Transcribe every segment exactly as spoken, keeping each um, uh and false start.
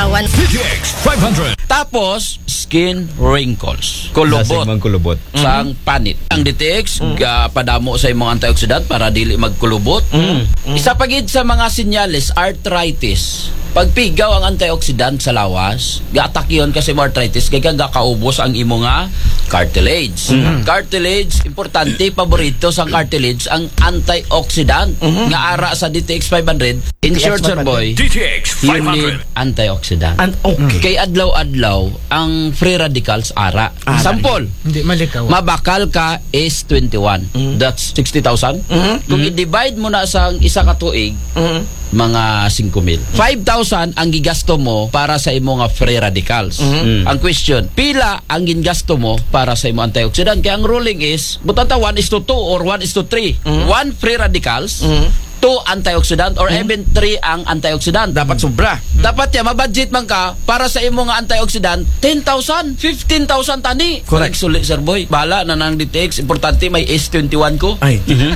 One. D T X five hundred. Tapos, skin wrinkles. Kulubot. Lasing man kulubot. Sang panit. Ang D T X, Mm. ga-, padamo sa imong antioxidant para dili magkulubot. Mm. Mm. Isa pa gid sa mga sinyales, arthritis. Pagpigaw ang antioxidant sa lawas, gaatakihon ka sa imong arthritis, kay gakaubos ang imo nga cartilage. Mm. Cartilage, importante, paborito sang cartilage ang antioxidant Mm-hmm. nga ara sa D T X five hundred. In D T X short, sir five hundred. Boy, D T X you five hundred. Need antioxidant. An-, okay. Kay adlaw-adlaw ang free radicals ara. Ah, Sample, Hindi malikaw. Mabakal ka is twenty-one. Mm. That's sixty thousand. Mm-hmm. Kung Mm-hmm. i-divide mo na sa isa ka tuig, Mm-hmm. mga singko mil. Five thousand ang gigasto mo para sa imo nga free radicals. Mm-hmm. Mm. Ang question, pila ang gingasto mo para sa imo antioxidant? Kaya ang ruling is, butang ta one is to two or one is to three. Mm-hmm. One free radicals, Mm-hmm. two antioxidant, or Mm-hmm. even three ang antioxidant. Dapat sobra. Dapat ya, mabudget man ka para sa imo nga antioxidant, ten thousand, fifteen thousand tani. Correct. Suli, sir boy. Bahala na nang D T X. Importante may S twenty-one ko. Ay, Mhm.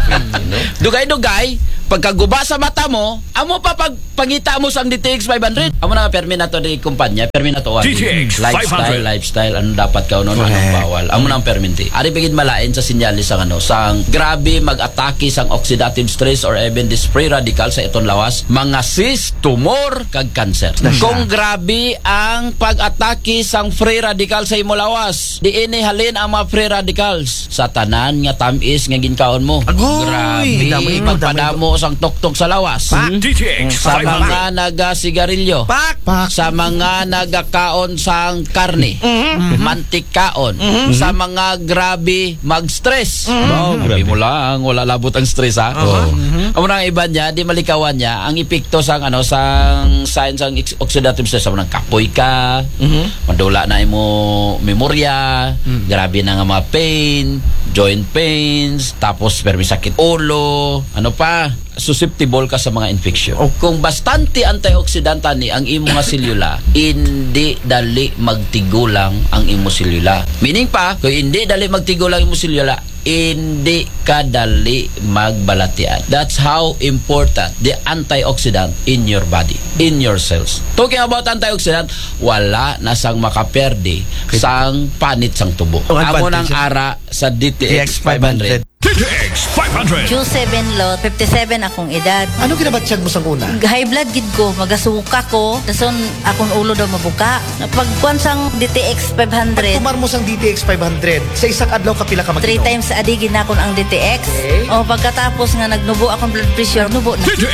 Dugay-dugay, pagkaguba sa mata mo, amo pa pagpangita mo sang D T X five hundred. Amo na nga permi nato di kumpanya, permi nato ang D T X lifestyle, five hundred. Lifestyle, ano dapat ka, ano, ano Correct. Bawal. Amo na ang perminti. Ari bigid malain sa sinyalis sang, ano, sang grabe mag-atake sang oxidative stress or even this free radical sa iton lawas, mga cyst, tumor, kag cancer. Na siya. Kung grabe ang pag-atake sang free radical sa imo lawas, diin ni halin ang mga free radicals? Sa tanan nga tamis nga ginkaon mo. Agoy! Grabe, Damay mo, damay mo. Pagpadamo sang tuktok sa lawas. Pak! D T X Sa five hundred. Mga nagasigarilyo. Pak! Pak! Sa mga nagakaon sang karne, Mhm. mantikaon, Mhm. sa mga grabe mag-stress. Mhm. Wow, Sabi grabe. Mo lang, wala labot ang stress, ha? Aha. Oh. Mhm. Amo na ang iba niya, di malikawan niya ang epekto sang, ano, sang sign sang ex-, oxidative stress, sa mga kapoy ka, Mhm. madula na imo memorya, Mm. grabe na nga mga pain, joint pains, tapos permi sakit ulo, ano pa, susceptible ka sa mga infection. Oh. Kung bastante antioxidant tani ang imo nga selula, hindi dali magtigulang ang imo selula. Meaning pa, kung hindi dali magtigulang imo selula, hindi ka dali magbalatian. That's how important the antioxidant in your body, in your cells. Talking about antioxidant, wala na sang makaperde Kay sang panit sang tubo. Ang Amo nang advantage. Ara sa D T X five hundred. D T X five hundred. Q seven lot, fifty-seven akong edad. Ano ginabatyag mo sang una? High blood gid ko, magasuka ko, dason akong ulo daw mabuka. Pagkuan sang D T X five hundred. Pagtumar mo sang D T X five hundred, sa isang adlaw kapila ka mag-inom? Three times a day ginakon ang D T X. Okay. O, pagkatapos nga nagnubo akong blood pressure, nubo na. D T